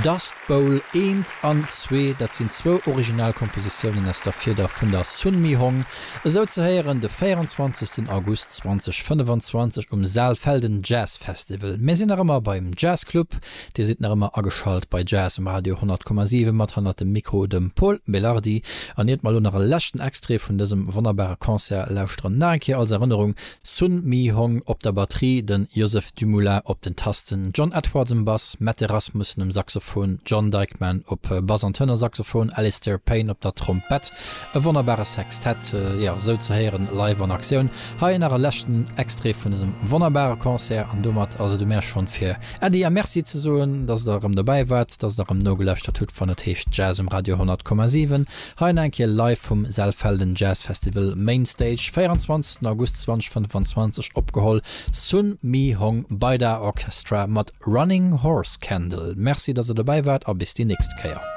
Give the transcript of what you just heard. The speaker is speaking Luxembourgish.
Dust Bowl eent an zwee, dat sinn zwou Originalkompositiounen aus der Fieder vun der Sun Mi Hong, esou ze héieren de 24 August 2025 um Saalfelden Jazz Festival. Mir sinn nach ëmmer beim Jazz Club, Dir sidd nach ëmmer ageschalt bei Jazz um Radio 100,7 mat hannert dem Mikro dem Pol Belardi. An iert mer elo nach e leschten Extrait vun dësem wonnerbare Concert lauschteren, nach eng Kéier als Erënnerung, Sun Mi Hong op der Batterie, den Joseph Dumoulin op den Tasten, John Edwards um Bass, Mette Rasmussen um Saxophon, John Dikeman op Bass an Tenorsaxophon, Alistair Payne op der Trompett. E wonnerbare Sextett, jo, esou ze héieren live an Aktioun. Hei nach e leschten Extrait vun dësem wonnerbare Concert an domat ass et u mär schonn fir Äddi a Merci ze soen, dass der erëm dobäi waart, dass der erëm nogelauschtert hutt, wann et heescht Jazz um Radio 100,7. Hei nach eng Kéier live vum Saalfelden Jazz Festival Main Stage, 24 August 2025 opgeholl, Sun Mi Hong Baida Orchestra mat Running Horse Candle. Merci, dass der dobäi waart a bis déi nächst Kéier.